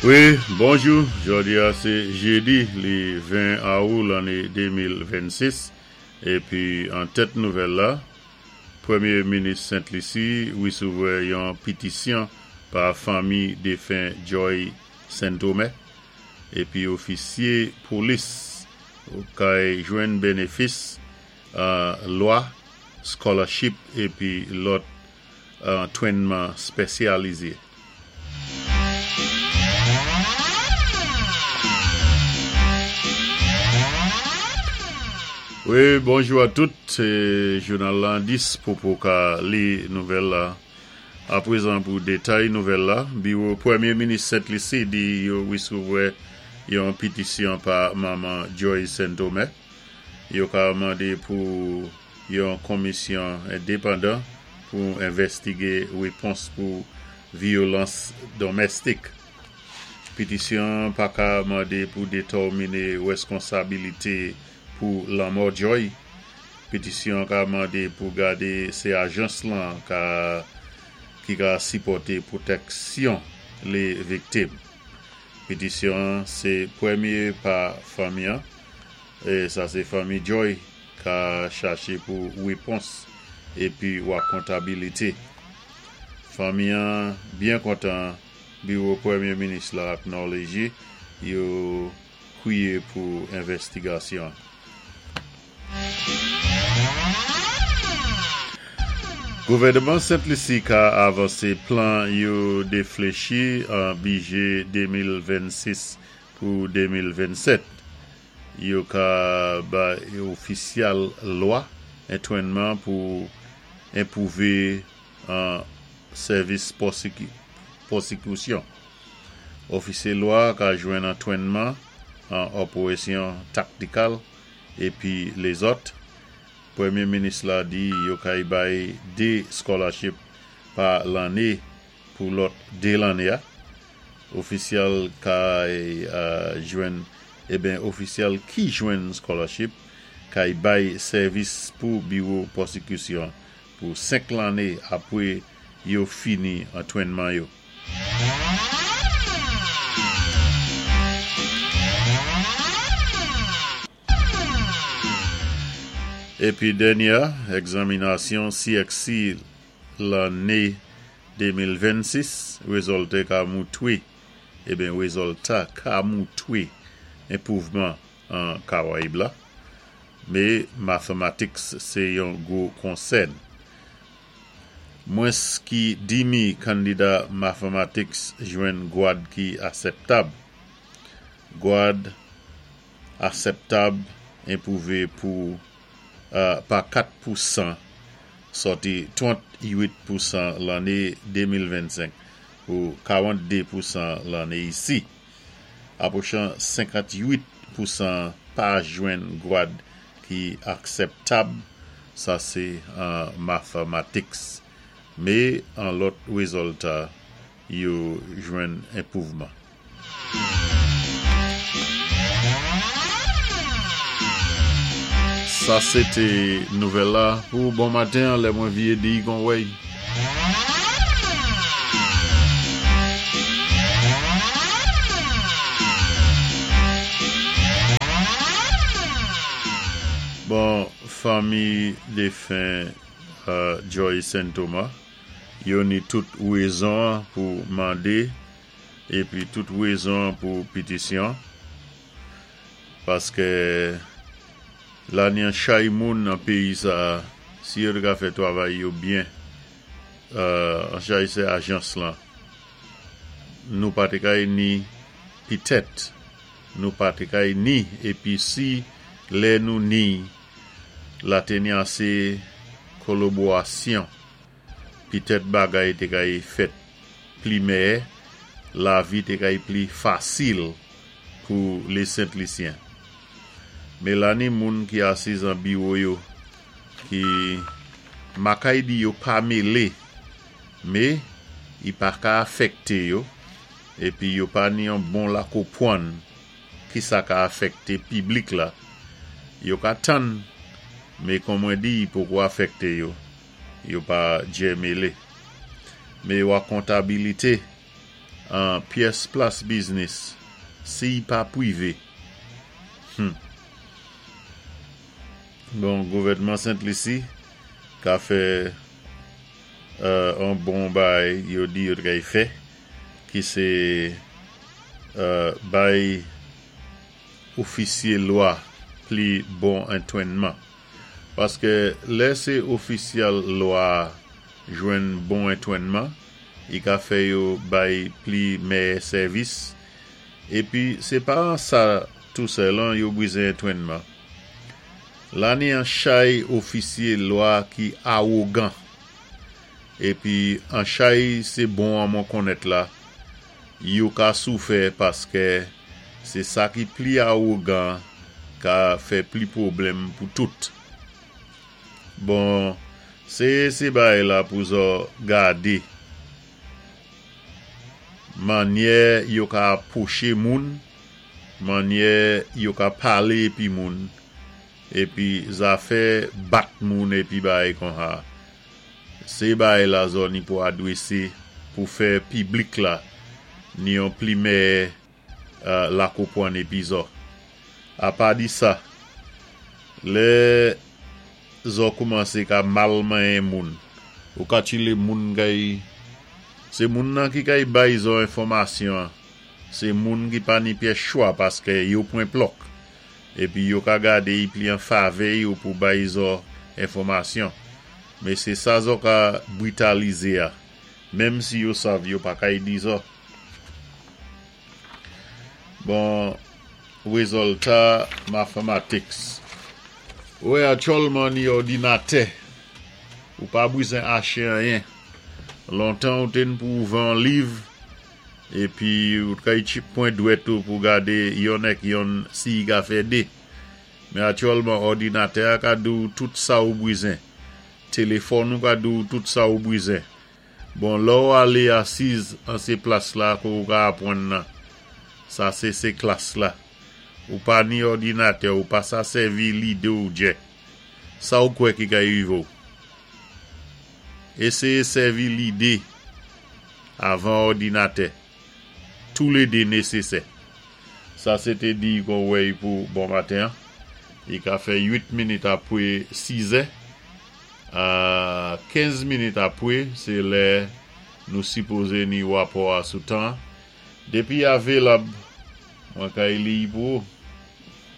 Wi, bonjou, jòdi a sé jédi li 20 awou lanné 2026 épi an tèt nouvèl la, Pwémyé minis Sent Lisi wésévwa yon pitisyon pa fanmi défen Joy Saint-Thome épi ofisyé polis kay jwenn bénéfis lwa, scholarship épi lòt antwénman spésyalizé. Wi, bonjou a tout, sé jounal la dispo pou ka li nouvèl la. Aprezan pou détay nouvèl la, biwo Pwémyé minis Sent Lisi di yo wésévwa yon pitisyon pa manman Joy Saint-Thome. Yo ka mandé pou yon konmisyon endepandan pou envèstigé wépons pou vyolans donmèstik. Pitisyon an pa ka mande pou detòmine reskonsabilite pou lanmò Joy. Pitisyon an ka mande pou gade se ajans lan ka ki ka sipòte pwotèksyon le viktim. Pitisyon an se premye pa fanmi an, sa se fanmi Joy, ka chache pou repons epi wakontabilite. Fanmi an byen kontan biwo Premye Minis la aknòleje yo kwiye pou envèstigasyon an. Gouvèneman Sent Lisi ka avanse plan yo deflechi an bije 2026 pou 2027. Yo ka bay ofisyal lwa entwennman pou enpwouve an sèvis pwosekitisyon. Ofisye lwa ka jwenn antwennman an operesyon taktikal epi lezòt. Premye minis la di yo kay bay 2 scholarship pa lanne pou lòt 2 lanne a. Ofisyal kay jwenn eben ofisyal ki jwenn scholarship kay bay sèvis pou biwo pwosekisyon pou 5 lanne apwe yo fini antwennman yo. Epi dènyè egzaminasyon CXC lanne 2026 rezòlte ka moutwe eben rezòlta ka moutwe enpwouvman an Karayib la. Me mathematics se yon gwo konsèn. Mwens ki dimi kandida mathematics jwenn gwad ki asèptab. Gwad asèptab enpwouve pou pa 4 pousan sòti 38 pousan lanne 2025 pou 42 pousan lanne isi. Apwochan 58 pousan pa jwenn gwad ki aksèptab, sa se an mathematics. Me an lòt rezòlta yo jwenn enpwouvman. Sa se te nouvèl la pou bon maten an lè mwen vye di gon wèy. Bon fanmi defen Joy Sen Toma yo ni tout rezon an pou mande epi tout rezon an pou pitisyon paske la ni an chay moun nan peyi sa si yo te ka fè travay yo byen an chay se ajans lan nou pa te kay ni pitèt nou pa te kay ni epi si lè nou ni la te ni ase koloborasyon Pitèt bagay te kay fèt pli mèyè, lavi te kay pli fasil pou le Sent Lisyen. Melani moun ki asiz an biwo yo ki makay di yo pa mele me i pa ka afèkte yo epi yo pa ni yon bon lakopwann ki sa ka afèkte piblik la yo ka tann me kon mwen di i poko afèkte yo. Yo pa djè mele. Me yo akontabilite. An pyès plas biznis si y pa pwivé. Hum. Bon, gouvèdman Sent Lisi ka fè an bon bay yo di yo t kay fè ki sé bay ofisyé lwa pli bon entwennman. Paskè lè sé ofisyal lwa jwenn bon entwennman, i ka fè yo bay pli mèyè sèvis. Épi sé pa an sa tou sèlan yo bwizen entwennman. La ni an chay ofisye lwa ki awogan. Épi an chay sé bon an mwen konnèt la, yo ka soufè paskè sé sa ki pli awogan ka fè pli pwoblèm pou tout. Bon, sé sé bagay la pou zò gadé mannyè yo ka apwoché moun, mannyè yo ka palé épi moun, épi zafè bat moun épi bagay konsa. Sé bagay la zò ni pou adwésé pou fè piblik la ni yon pli mèyè lakopwann épi zò. Apa di sa, lè zò koumansé ka mal manyen moun, ou ka tchilé moun kay sé moun nan ki kay bay zò enfòmasyon an, sé moun ki pa ni pyès chwa paskè yo pwen plòk, épi yo ka gadé y pli an favè yo pou bay zò enfòmasyon. Men sé sa zò ka britalizé a, menm si yo sav yo pa kay di zò. Bon, wezòlta mathematics. Wè atyòlman ni òdinatè, ou pa bwizen ache anyen. Lontan ou te n pou ouvè on liv, épi ou t kay tchip pwen dwèt ou pou gade yonn èk yonn si y ka fè de. Men atyòlman òdinatè a ka di w tout sa ou bwizen. Téléfòn ou ka di w tout sa ou bwizen. Bon, lè w alé asiz an sé plas la ke w ka apwann nan. Sa sé sé klas la. Ou pa ni òdinatè, ou pa sa sèvi lide w djè. Sa w kwè ki ka rive w? Éséyé sèvi lide avan òdinatè. Toulede nesesè. Sa se te di kon wèy pou bon maten an. I ka fè 8 minit apwe 6 è. A 15 minit apwe se lè nou sipoze ni wapò a sou tan an. Depi avelab, mwen kay liy pou ou.